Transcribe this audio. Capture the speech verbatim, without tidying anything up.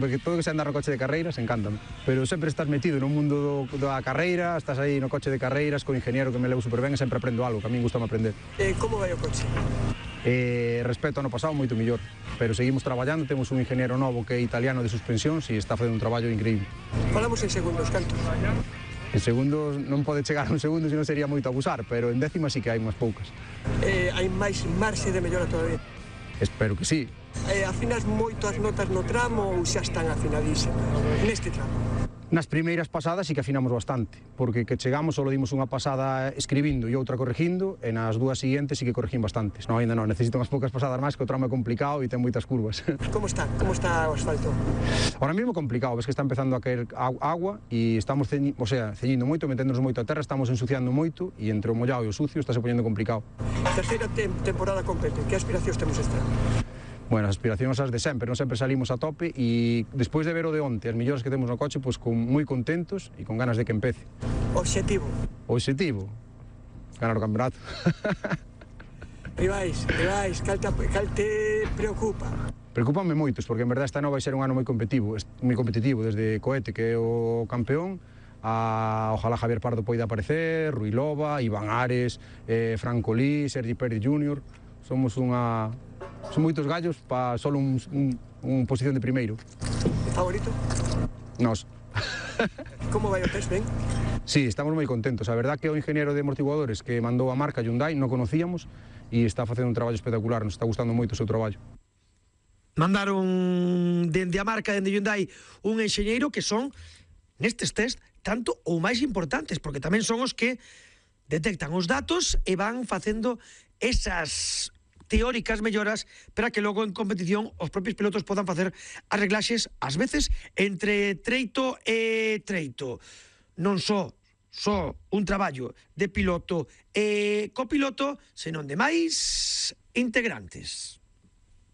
Porque todo que se andar no coche de carreiras encántame, pero sempre estás metido no mundo do, da carreira, estás aí no coche de carreiras co ingeniero que me levo super ben e sempre aprendo algo, que a min gustame aprender. Eh, como vai o coche? Eh, respecto ao ano pasado, moito mellor, pero seguimos traballando, temos un ingeniero novo que é italiano de suspensións e está facendo un traballo increíble. Falamos en segundos, canto? En segundos non pode chegar a un segundo, senón sería moito abusar, pero en décimas sí que hai unhas poucas. Eh, hai máis marxe de mellora todavía? Espero que sí. Eh, afinas moito as notas no tramo ou xa están afinadísimas neste tramo? Nas primeiras pasadas sí que afinamos bastante, porque que chegamos só dimos unha pasada escribindo e outra corregindo, e nas dúas seguintes sí que corregín bastantes. Non, ainda non, necesito unhas poucas pasadas máis, que o tramo é complicado e ten moitas curvas. Como está? Como está o asfalto? Ahora mesmo complicado, ves que está empezando a caer agua e estamos ceñi, o sea, ceñindo moito, meténdonos moito a terra, estamos ensuciando moito e entre o mollado e o sucio está se poñendo complicado. Terceira te temporada completa, que aspiracións temos este ano? Bueno, as aspiracións as de sempre, non sempre salimos a tope e despois de ver o de onte, as millores que temos no coche, pois con moi contentos e con ganas de que empece. Obxectivo? O obxectivo? Ganar o campeonato. Rivais, rivais, cal te, cal te preocupa? Preocúpame moitos, porque en verdade este ano vai ser un ano moi competitivo, moi competitivo, desde Coete, que é o campeón, a ojalá Javier Pardo poida aparecer, Rui Loba, Iván Ares, eh, Franco Lee, Sergi Pérez júnior, somos unha... Son moitos gallos para solo un, un, un posición de primeiro. Favorito? Nos. Como vai o test, ben? Sí, estamos moi contentos. A verdad que o ingeniero de amortiguadores que mandou a marca Hyundai non conocíamos e está facendo un traballo espectacular, nos está gustando moito o seu traballo. Mandaron dende a marca, dende Hyundai, un enxeñeiro que son, nestes test, tanto ou máis importantes, porque tamén son os que detectan os datos e van facendo esas teóricas melloras para que logo en competición os propios pilotos podan facer as reglaxes, ás veces, entre treito e treito. Non só só un traballo de piloto e copiloto, senón de máis integrantes.